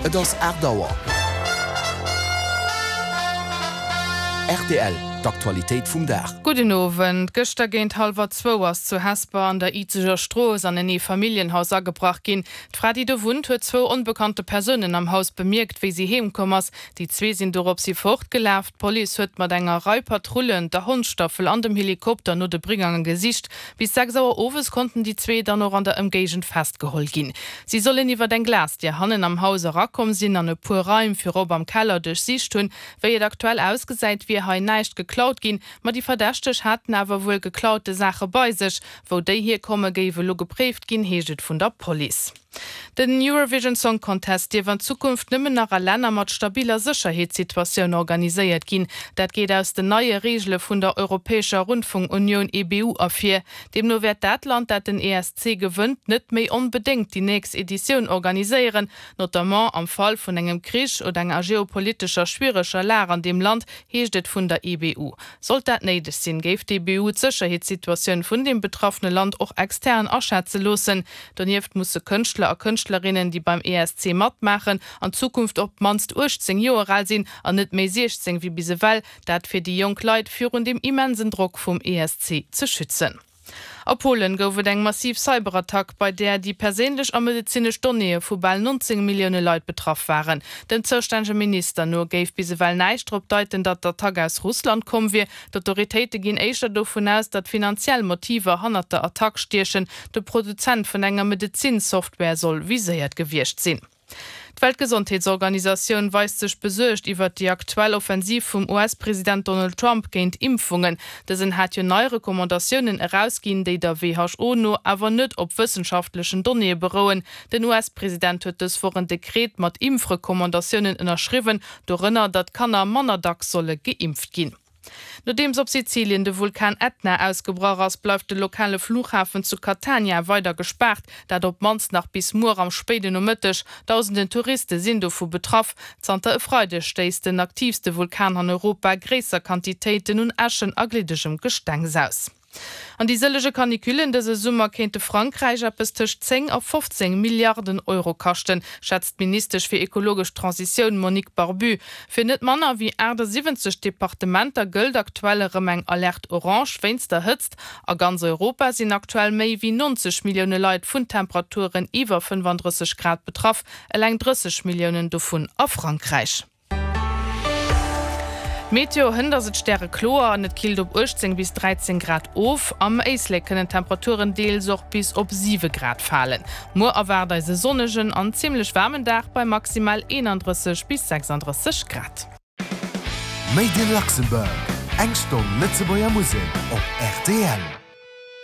Et ass 8 Auer. Rtl, D'Aktualitéit vum Dag. Gudden Owend. Gëschter géint hallwer zwou ass zu Hesper an der Izeger Strooss an en Eefamilljenhaus agebrach ginn. D'Fra, déi do wunnt, huet zwou onbekannte Persounen am Haus bemierkt, wéi si heem komm ass. Déi zwee sinn doropshi fortgelaf. D'Police huet mat enger Rei Patrullen, der Hondsstaffel an dem Helikopter no de Brigange gesicht. Bis 6 Auer owes konnten déi zwee dann och an der Ëmgéigend festgeholl ginn. Si sollen iwwer eng Glasdier hannen am Haus erakomm sinn an e puer Raim, virop am Keller, duerchsicht hunn. Wéi et aktuell ausgesäit, wier hei näischt geklaut ginn, ma déi Verdächteg haten awer wuel geklaute Saache bei sech. Wou déi hierkomme géif elo gepréift ginn, heescht et vun der Police. Den Eurovision Song Contest dierf an Zukunft nëmmen nach a Länner mat stabiller Sécherheetssituatioun organiséiert ginn. Dat geet aus den neie Reegele vun der Europäescher Rundfunkunioun EBU ervir. Deemno wäert dat Land, dat den ESC gewënnt, net méi onbedéngt déi nächst Editioun organiséieren. Notamment am Fall vun engem Krich oder enger geopolitescher schwiereger Lag an deem Land, heescht et vun der EBU. Sollt dat néideg sinn, géif d'EBU d'Sécherheetssituatioun vun deem betraffene Land och extern aschätze loossen. Donieft musse Kënschtler a Kënschtlerinnen, déi beim ESC matmaachen, an Zukunft op d'mannst 18 Joer al sinn an net méi 16 wéi bis ewell. Dat fir déi jonk Leit virun deem immensen Drock vum ESC ze schützen. A Polen gouf et eng massiv Cyberattack, bei där déi perséinlech a medezinesch Donnéeë vu bal 19 Millioune Leit betraff waren. Dem zoustännege Minister no géif bis ewell näischt drop deiten, datt d'Attack aus Russland komm wier. D'Autoritéite ginn éischter dovun aus, datt finanziell Motiver hannert der Attack stiechen. De Produzent vun enger Medezin-Software soll viséiert gewiescht sinn. D'Weltgesondheetsorganisatioun weist sech besuergt iwwert déi aktuell Offensiv vum US-President Donald Trump géint Impfungen. Dësen hat jo nei Recommandatiounen erausginn, déi der WHO no awer net op wëssenschaftlechen Donnéeë berouen. Den US-President huet dës Woch en Dekret mat Impfrecommandatiounen ënnerschriwwen, dorënner, datt Kanner manner dacks solle geimpft ginn. Nodeems op Sizilien de Vulkan Ätna ausgebrach ass, bleift de lokale Flughafen zu Catania weider gespaart, dat op d'mannst nach bis muer am spéiden Nomëtteg. Dausenden Touriste sinn dovu betraff. Zanter e Freideg stéisst den aktiivste Vulkan an Europa gréisser Quantitéiten un Äschen a gliddegem Gestengs aus. An déi sëllege Canicullen dëse Summer kéinte Frankräich eppes tëscht 10 a 15 Milliarden Euro kaschten, schätzt d'Ministesch fir ekologesch Transitioun Monique Barbut. Fir net manner wéi 78 Departementer gëllt aktuell erëm eng Alerte orange wéinst der Hëtzt. A ganz Europa sinn aktuell méi wéi 90 Millioune Leit vun Temperaturen iwwer 35 Grad betraff, eleng 30 Milliounen dovun a Frankräich. Meteo, Hënt ass et stärekloer an et killt op 18 bis 13 Grad of. Am Éislek kënnen d'Temperaturen deels och bis op 7 Grad falen. Muer erwaart eis e sonnegen an zimmlech waarmen Dag bei maximal 31 bis 36 Grad. Made in Luxembourg, eng Stonn Lëtzebuerger Musek op rtl.